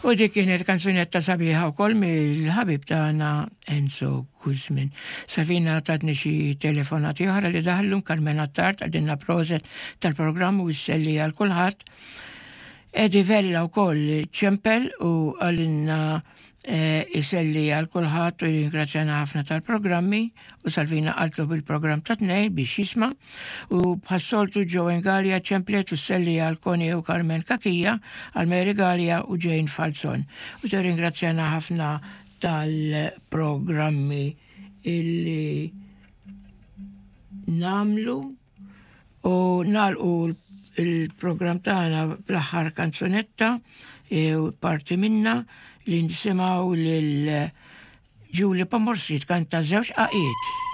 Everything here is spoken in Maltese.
U dik kienet kanzunetta sabiħa wkoll mill-ħabib tagħna Enzo Guzmin. Savina tatni xi telefonati oħra li daħlu Carmen Attard għadinna proset tal-programm u jisselli għal kulħadd. Edi Vella wkoll ċempel u għalinna eh, iselli għal kulħadd u ringrazzjana ħafna tal-programmi u Salvina qaltlu bil-programm ta' tnejn biex jisma' u bħas-soltu Joanne Galea ċemplet u sselli għal Connie u Carmen Cachia, għal Mary Galea u Jane Falzon. U tirringrazzjana ħafna tal-programmi illi namlu u nalqu il-programm tagħna bl-aħħar kanzunetta e, u parti minna li nisimgħu lil Julie Pomorski tkanta żewġ qaqiet.